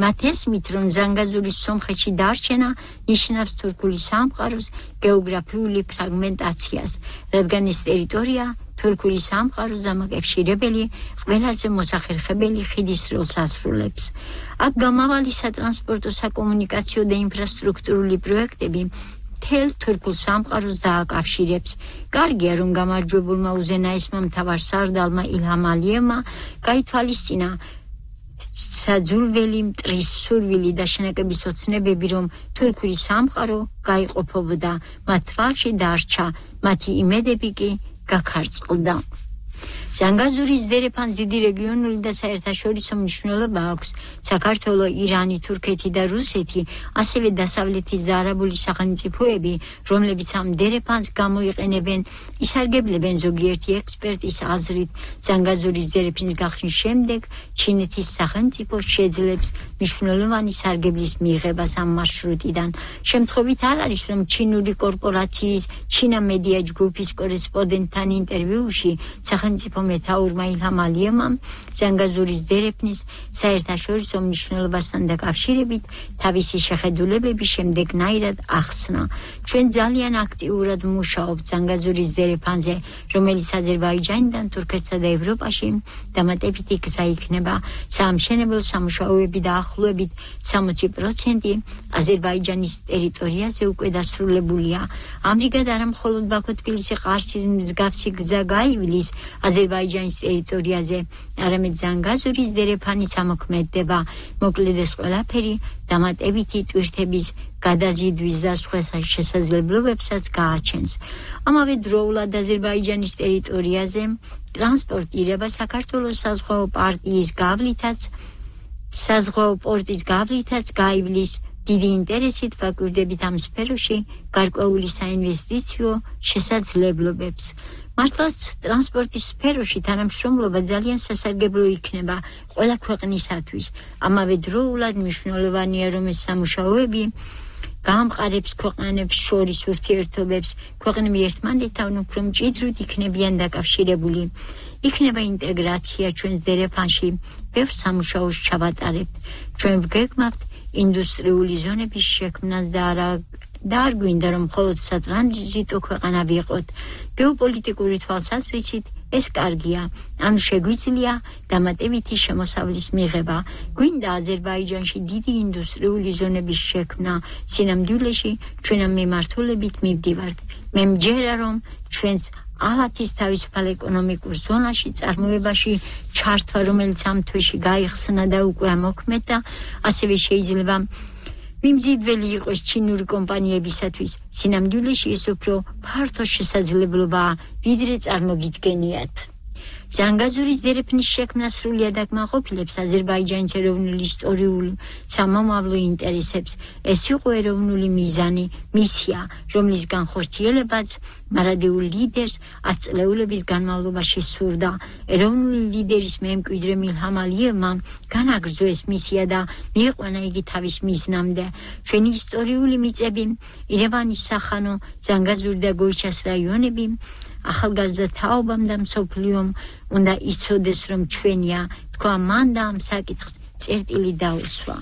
მათ ესმით, რომ ზანგაზურის სომხეთში დარჩენა ნიშნავს თურქული სამყაროს გეოგრაფიული ფრაგმენტაციას, რადგან ეს ტერიტორია თურქული სამყაროს დამაკავშირებელი ყველაზე მოსახერხებელი ხიდის როლს ასრულებს. აქ გამავალი სატრანსპორტო, საკომუნიკაციო და ინფრასტრუქტურული პროექტები მთელ თურქულ სამყაროს დააკავშირებს. კარგია, რომ გამარჯვებულმა უზენაესმა მთავარ სარდალმა ილჰამ ალიევმა გაითვალისწინა საძულველი, მტრის სურვილი და შენაკების ოცნებები, რომ თურქული სამყარო გაიყოფებოდა, მათ თვალში დარჩა, მათი იმედები კი გაქარწყლდა. ზანგაზურის დერეფანს დიდი რეგიონული და საერთაშორისო მნიშვნელობა აქვს. საქართველო, ირანი, თურქეთი და რუსეთი, ასევე დასავლეთის და არაბული სახელმწიფოები, რომლებიც ამ დერეფანს გამოიყენებენ, ისარგებლებენ ზოგიერთი ექსპერტის აზრით. ზანგაზურის დერეფნის გახსნის შემდეგ ჩინეთის სახელმწიფო შეძლებს მნიშვნელოვანი სარგებლის მიღებას ამ მარშრუტიდან. შემთხვევით არ არის, რომ ჩინური კორპორაციის ჩინა მედია ჯგუფის კორესპონდენტთან ინტერვიუში სახელმწიფო მეთაურმა ილჰამ ალიევმა ზანგაზურის დერეფნის საერთაშორისო მნიშვნელობასთან დაკავშირებით თავისი შეხედულებები შემდეგნაირად ახსნა. ჩვენ ძალიან აქტიურად მუშაობთ ზანგაზურის დერეფანზე, რომელიც აზერბაიჯანიდან თურქეთსა და ევროპაში დამატებითი გზა იქნება. საამშენებლო სამუშაოები დაახლოებით 60% აზერბაიჯანის ტერიტორიაზე უკვე დასრულებულია. ამრიგად არა მხოლოდ ბაქო-თბილისი-ყარსის მსგავსი გზა გაივლის აზერბაიჯანის ტერიტორიაზე, არამედ ზანგაზურის დერეფანიც ამოქმედდება. მოკლედ ეს ყველაფერი დამატებითი ტვირთების გადაზიდვის და სხვა შესაძლებლობებსაც გააჩენს. ამავე დროულად აზერბაიჯანის ტერიტორიაზე ტრანსპორტირება საქართველოს საზღვაო პორტის გავლითაც გაივლის. დიდი ინტერესით ვაკვირდებით ამ სფეროში გარკვეული საინვესტიციო შესაძლებლობებს. მართლაც ტრანსპორტის სფეროში თანამშრომლობა ძალიან სასარგებლო იქნება ყველა ქვეყნისათვის. ამავე დროულად მნიშვნელოვანია, რომ ეს სამუშაოები გაამყარებს ქვეყნებს შორის ურთიერთობებს, ქვეყნები ერთმანეთთან უფრო მჭიდროდ იქნებიან დაკავშირებული. იქნება ინტეგრაცია ჩვენს დერეფანში, ბევრ სამუშაოს ჩავატარებთ. ჩვენ ვგეგმავთ ინდუსტრიული ზონების შექმნას და არ გვინდა, რომ მხოლოდ სატრანზიტო ქვეყანა ვიყოთ. გეოპოლიტიკური თვალსაზრისით ეს კარგია, ანუ შეგვიძლია დამატებითი შემოსავლის მიღება. გვინდა აზერბაიჯანში დიდი ინდუსტრიული ზონების შექმნა. სინამდვილეში ჩვენ ამ მიმართულებით მივდივართ. მე მჯერა, რომ ჩვენს ალათის თავისუფალ ეკონომიკურ ზონაში წარმოებაში ჩართვა, რომელიც ამ თვეში გაიხსნა და უკვე ამოქმედდა, ასევე შეიძლება მიმზიდველი იყოს ჩინური კომპანიებისათვის. სინამდვილეში ეს უფრო ფართო შესაძლებლობაა, ვიდრე წარმოგიდგენიათ. ზანგაზურის დერეფნის შექმნა სრულიად აკმაყოფილებს აზერბაიჯანის ეროვნული ისტორიულ სამომავლო ინტერესებს. ეს იყო ეროვნული მიზანი, მისია, რომლის განხორციელებაც მარადეულ ლიდერს 10 წლეულების განმავლობაში სურდა. ეროვნული ლიდერის მემკვიდრე ილჰამ ალიევმა განაგრძო ეს მისია და მიიყვანა იგი თავის მიზნამდე. ჩვენი ისტორიული მიწები, ირევანის სახანო, ზანგაზური და გოიჩას რაიონები ახალგაზრდა თაობამ და მსოფლიომ უნდა იცოდეს, რომ ჩვენია. თქვა მან და ამ საკითხს წერტილი დაუსვა.